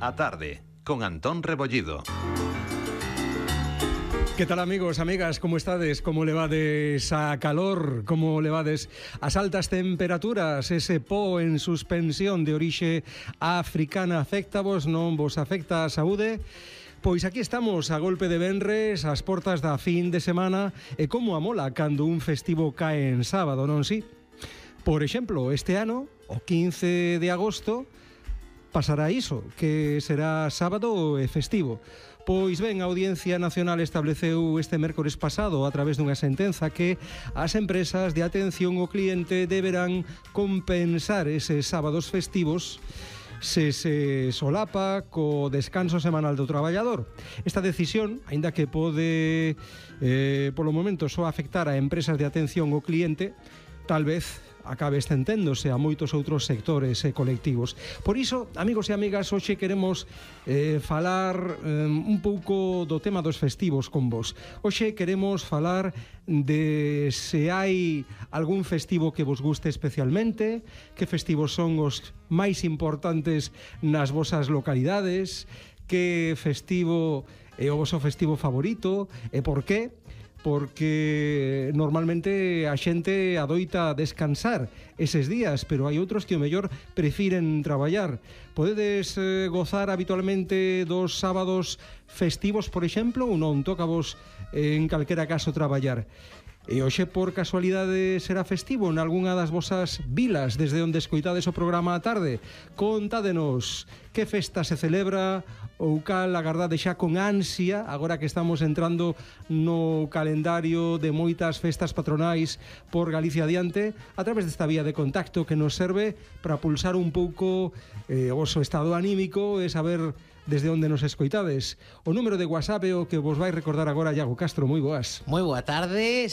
A tarde, con Antón Rebollido. Que tal, amigos, amigas, como estades? Como levades a calor? Como levades as altas temperaturas? Ese po en suspensión de orixe africana afecta vos, non vos afecta a saúde? Pois aquí estamos a golpe de venres, ás portas da fin de semana, e como amola cando un festivo cae en sábado, non si? Por exemplo, este ano, o 15 de agosto, pasará iso, que será sábado e festivo. Pois ben, a Audiencia Nacional estableceu este mércores pasado a través dunha sentenza que as empresas de atención ao cliente deberán compensar eses sábados festivos se solapa co descanso semanal do traballador. Esta decisión, aínda que pode polo momento só afectar a empresas de atención ao cliente, tal vez acabe estenténdose a moitos outros sectores e colectivos. Por iso, amigos e amigas, hoxe queremos falar un pouco do tema dos festivos con vos. Hoxe queremos falar de se hai algún festivo que vos guste especialmente, que festivos son os máis importantes nas vosas localidades, que festivo é o voso festivo favorito e por qué? Porque normalmente a xente adoita descansar eses días, pero hai outros que o mellor prefiren traballar. Podedes gozar habitualmente dos sábados festivos, por exemplo, ou non? Toca vos en calquera caso traballar. E hoxe, por casualidade, será festivo en algunha das vosas vilas desde onde escoitades o programa á tarde? Contádenos que festa se celebra ou cal agardade xa con ansia agora que estamos entrando no calendario de moitas festas patronais por Galicia adiante a través desta vía de contacto que nos serve para pulsar un pouco o vosso estado anímico e saber desde onde nos escoitades. O número de WhatsApp é o que vos vai recordar agora Iago Castro. Moi boas. Moi boa tarde,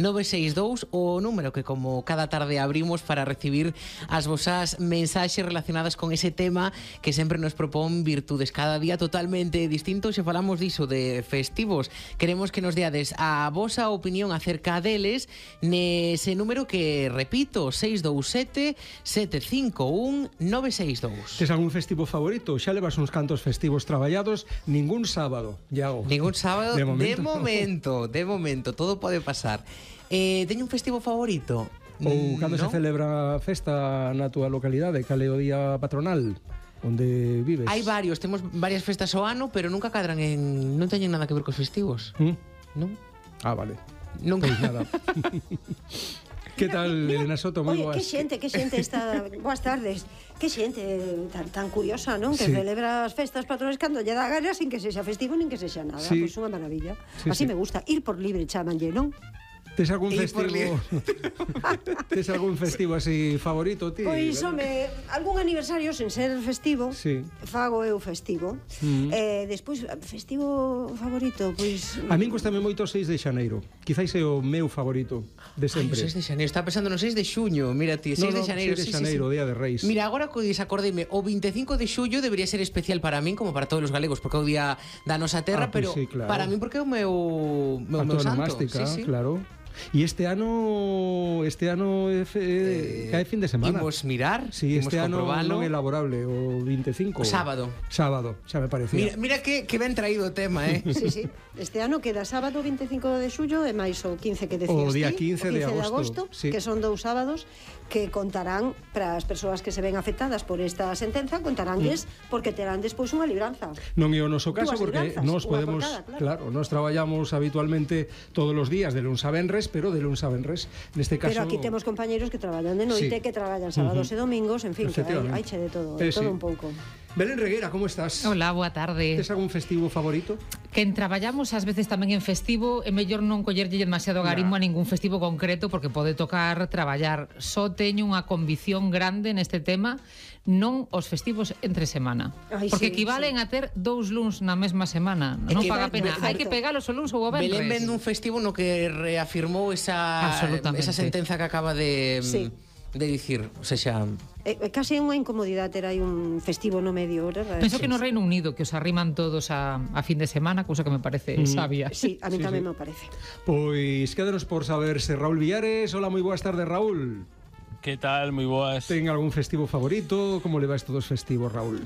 627-751-962, o número que como cada tarde abrimos para recibir as vosas mensaxes relacionadas con ese tema que sempre nos propón virtudes cada día totalmente distintos. Se falamos diso de festivos, queremos que nos deades a vosa opinión acerca deles nese número que, repito, 627-751-962. Tes algún festivo favorito? Xa levas uns cantos festivos traballados? Ningún sábado, Iago. Ningún sábado, de momento, todo pode pasar. Teño un festivo favorito? Ou cando se celebra a festa na túa localidade? Cal é o día patronal onde vives? Hai varios, temos varias festas ao ano, pero nunca cadran en... non teñen nada que ver cos festivos. Non? Ah, vale. Nunca. Pois nada. Que tal, Elena Soto? Moi boas. Que xente está... Boas tardes. Que xente tan curiosa, non? Que celebra as festas patronais cando lle dá gana sin que sexa festivo nin que sexa nada. Pois unha maravilla. Así me gusta. Ir por libre chamanlle, non? Tes algún festivo? Tes algún festivo así favorito, ti? Pois, home, algún aniversario sen ser festivo, fago eu festivo. Despois, festivo favorito, pois... A min gustame moito o 6 de xaneiro. Quizáis é o meu favorito de sempre. Ai, o 6 de xaneiro, estaba pensando no 6 de xuño. Mira ti, 6 de xaneiro. 6 de xaneiro, Día de Reis. Mira, agora que desacordeime, o 25 de xullo debería ser especial para min, como para todos os galegos, porque é o día da nosa terra, pero para min porque é o meu santo. Claro. E este ano cae fin de semana. Imos mirar, sí, este ano non é laborable, o 25. O sábado, xa me parecía. Mira que ben traído o tema, Sí. Este ano queda sábado 25 de xullo e máis o 15 que decías o día ti, 15 de agosto, que son 2 sábados que contarán para as persoas que se ven afectadas por esta sentenza, contaránlles porque terán despois unha libranza. Non é o noso caso porque nós podemos, claro, nós traballamos habitualmente todos os días de luns a venres, pero de luns a venres, neste caso. Pero aquí temos compañeros que traballan de noite, que traballan sábados e domingos, en fin, que hai che de todo, todo un pouco. Belén Reguera, como estás? Hola, boa tarde. Tes algún festivo favorito? Quen traballamos ás veces tamén en festivo, é mellor non collerlle demasiado garimo a ningún festivo concreto porque pode tocar traballar. Só teño unha convicción grande neste tema, non os festivos entre semana. Porque equivalen a ter 2 luns na mesma semana. Non paga pena. Hai que pegalos o luns ou o venres. Belén vende un festivo no que reafirmou esa sentenza que acaba de dicir, o sea, case unha incomodidade ter aí un festivo no medio hora. Penso que no Reino Unido que os arriman todos a fin de semana, cousa que me parece sabia. Sí, a mí tamén me parece. Pois quédanos por saber se Raúl Villares. Hola, moi boas tardes, Raúl. Que tal? Moi boas. Ten algún festivo favorito? Como le vais todos festivos, Raúl?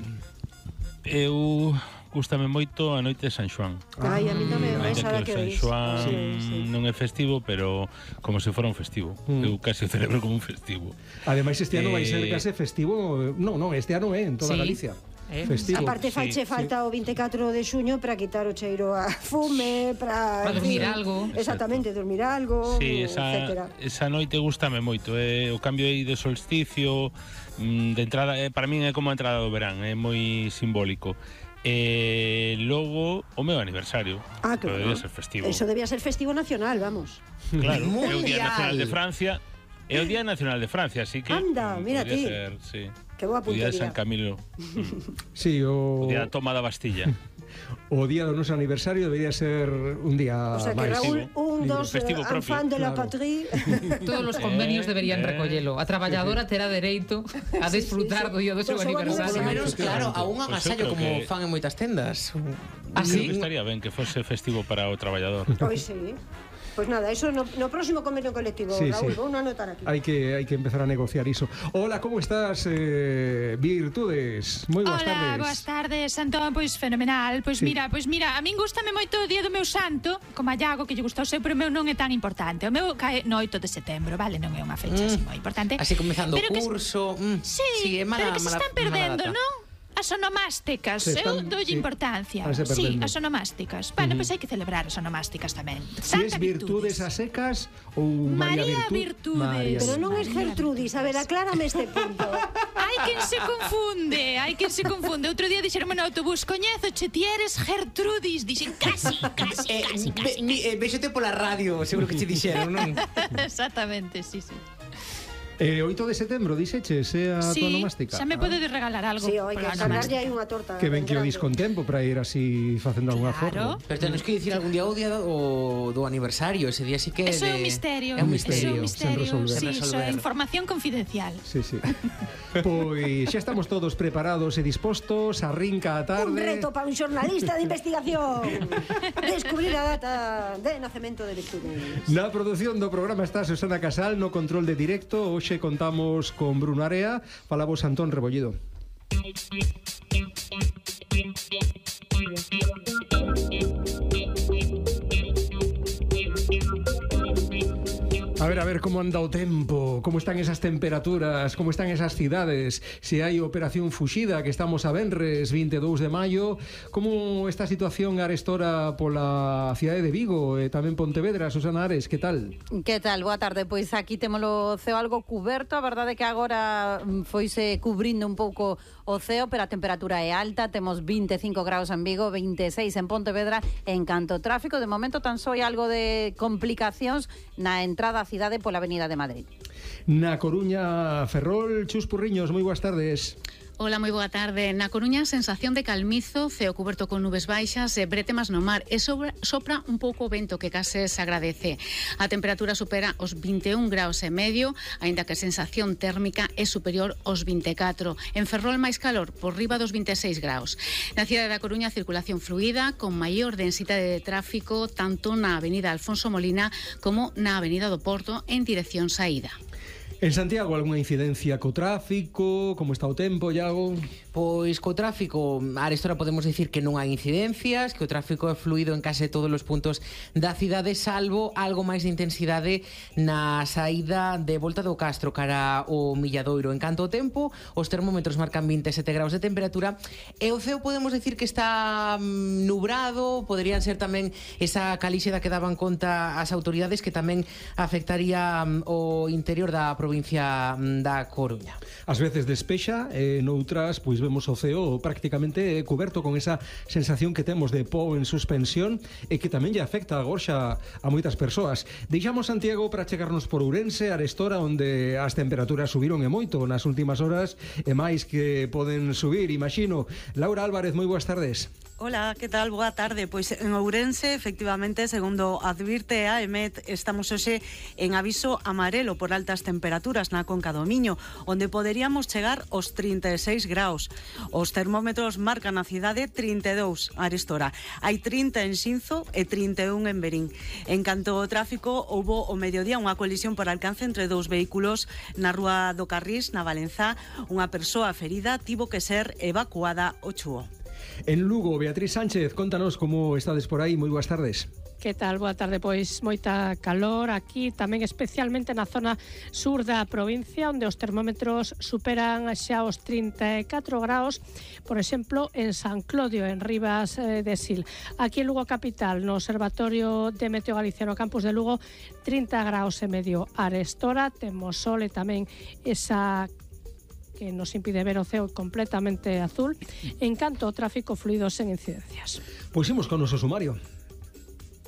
Eu gústame moito a noite de San Xoán. Ai, a mí tamén, Ainda esa que que o San veis. Xoán non é festivo, pero como se fora un festivo. Eu casi o celebro como un festivo. Ademais, este ano vai ser case festivo. Non, este ano é en toda Sí. Galicia. Festivo. Aparte faiche falta o 24 de xuño para quitar o cheiro a fume, para dormir algo. Exactamente, dormir algo, Sí, etcétera. esa noite gústame moito. O cambio aí de solsticio, de entrada, para min é como a entrada do verán, é moi simbólico. Logo, o meu aniversario. Claro. Debía ser festivo. Eso debía ser festivo nacional, vamos. Claro, é o Día Mundial. Nacional de Francia. É o Día Nacional de Francia, así que Anda, mira podría ti. ser, sí. Que boa O Día de puntería. San Camilo, Sí, o Día da Toma da Bastilla. o día do noso aniversario debería ser un día O sea que máis. Raúl, un dos Festivo propio. enfant de la Claro. patrie. Todos os convenios deberían recollelo. A traballadora terá dereito a disfrutar do día do seu Do seu Por lo aniversario. menos, claro, a un Pois eu agasallo creo como que- fan en moitas tendas. Ah, Creo sí? que estaría ben que fose festivo para o traballador. Pois sí. Pois nada, eso no próximo convenio colectivo, Sí, Raúl, sí. vou anotar aquí. Hai que empezar a negociar iso. Hola, como estás, Virtudes? Moi boas tardes. Hola, boas tardes, Antón, pois fenomenal. Pois Sí. mira, a min gústame moito o día do meu santo, como a Iago, que lle gusta o seu, pero o meu non é tan importante. O meu cae no 8 de setembro, vale? Non é unha fecha así moi importante. Así comezando o Pero que- curso. Sí, é mala, pero que se mala- están mala perdendo, data. non? As onomásticas, Se eu están- doulle sí, importancia. estánse Sí, perdendo. as onomásticas. Bueno, pois hai que celebrar as onomásticas tamén. Si es Virtudes a secas ou María María Virtudes. María Pero non é María Gertrudis, a ver, aclárame este punto. Hai quen se confunde. Outro día dixeronme no autobús, coñézoche, ti eres Gertrudis. Dixen, casi. Vexote pola radio, seguro que che dixeron, non? Exactamente, sí. 8 de setembro, dixeches, é a tua Sí, onomástica. xa me podedes regalar algo. Sí, hai que pola cargarlle onomástica. aí unha torta. Que ben que o grande. dis con tempo para ir así facendo algunha Claro. forma. Pero tenes que dicir algún día o día do aniversario, ese día sí que Eso é un misterio. É un misterio, Eso é un sen misterio. resolver. Sí, Sen iso é resolver. información confidencial. Sí. Pois xa estamos todos preparados e dispostos, arrinca a tarde. Un reto para un xornalista de investigación. Descubrir a data de nacemento de Virtudes. Na produción do programa está Susana Casal, no control de directo. Hoxe contamos con Bruno Area, falamos Antón Rebollido. A ver como anda o tempo, como están esas temperaturas, como están esas cidades, se hai operación fuxida, que estamos a venres 22 de maio, como está a situación arestora pola cidade de Vigo e tamén Pontevedra. Susana Ares, que tal? Que tal? Boa tarde. Pois aquí temos o ceo algo cuberto. A verdade é que agora foise cubrindo un pouco o ceo, pero a temperatura é alta. Temos 25 graus en Vigo, 26 en Pontevedra. En canto ao tráfico, de momento tan só hai algo de complicacións na entrada á cidade pola Avenida de Madrid. Na Coruña, Ferrol, Chus Purriños, moi boas tardes. Hola, moi boa tarde. Na Coruña, sensación de calmizo, ceo cuberto con nubes baixas e bretemas no mar e sopra un pouco o vento que case se agradece. A temperatura supera os 21 graus e medio, aínda que a sensación térmica é superior aos 24. En Ferrol máis calor, por riba dos 26 graus. Na cidade da Coruña, circulación fluida, con maior densidade de tráfico tanto na avenida Alfonso Molina como na avenida do Porto en dirección saída. En Santiago, algunha incidencia co tráfico? Como está o tempo, Iago? Pois co tráfico, arestora podemos dicir que non hai incidencias, que o tráfico é fluido en case todos os puntos da cidade, salvo algo máis de intensidade na saída de Volta do Castro cara ao Milladoiro. En canto ao tempo, os termómetros marcan 27 graus de temperatura e o ceo podemos dicir que está nubrado, poderían ser tamén esa calixe da que daban conta as autoridades, que tamén afectaría o interior da provincia da Coruña. Ás veces despexa, noutras, pois vemos o ceo prácticamente coberto con esa sensación que temos de po en suspensión e que tamén lle afecta a gorxa a moitas persoas. Deixamos Santiago para chegarnos por Ourense, arestora, onde as temperaturas subiron e moito nas últimas horas e máis que poden subir, imagino. Laura Álvarez, moi boas tardes. Hola, que tal? Boa tarde. Pois en Ourense, efectivamente, segundo advirte a EMET, estamos hoxe en aviso amarelo por altas temperaturas na Conca do Miño, onde poderíamos chegar aos 36 graus. Os termómetros marcan na cidade 32 a arestora. Hai 30 en Xinzo e 31 en Verín. En canto ao tráfico, houbo o mediodía unha colisión por alcance entre dous vehículos na rúa do Carrís, na Valenzá. Unha persoa ferida tivo que ser evacuada ao Chúo. En Lugo, Beatriz Sánchez, contanos como estades por aí. Moi boas tardes. Que tal? Boa tarde, pois moita calor aquí, tamén especialmente na zona sur da provincia, onde os termómetros superan xa os 34 graus, por exemplo, en San Clodio, en Rivas de Sil. Aquí en Lugo capital, no Observatorio de Meteo Galiciano Campus de Lugo, 30 graus e medio arestora, temos sol e tamén esa que nos impide ver o ceo completamente azul. En canto ao tráfico, fluidos sen incidencias. Pois imos con o noso sumario.